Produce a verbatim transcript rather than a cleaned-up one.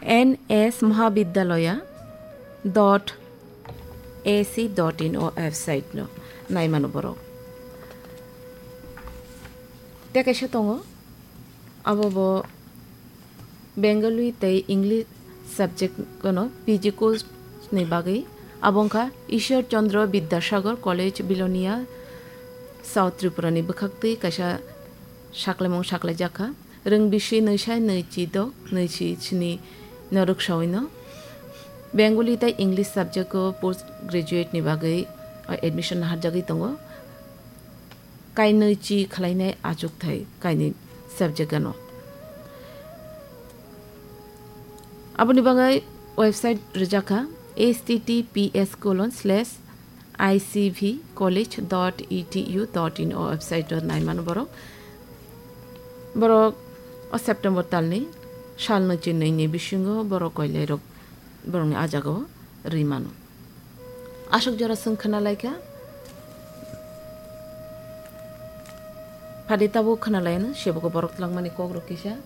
N S Mahavidyalaya dot A C dot in o website no naimano borok. Tei kaisa tongo, abo bo Bengali tei English subject no P G course ni bagwi. Abo wngkha Ishwar Chandra Vidyasagar College, Bilonia, South Tripura ni bwkhaktwi kaisa sakhlaimung sakhlaijakha. Rwng bisi nwi sai nwi chi dok nwi chi sni no rwksaui no Bengali tei English subject o post graduate ni bagwi admission naharjagwi tongo. Kainwi chi khlainai achukthai kainwi subject ano. Aboni bagwi website rwjakha H T T P S colon slash I C V college dot E T U dot in o website o naimano borok. Borok o September talni salno chinwi ni bisingo borok koilairok borokni ajagao rwi mano. Aswk jora chwng khwnalaikha. Phadi tabuk khwnalaino, seboko borok twlangmani kokrok kisa.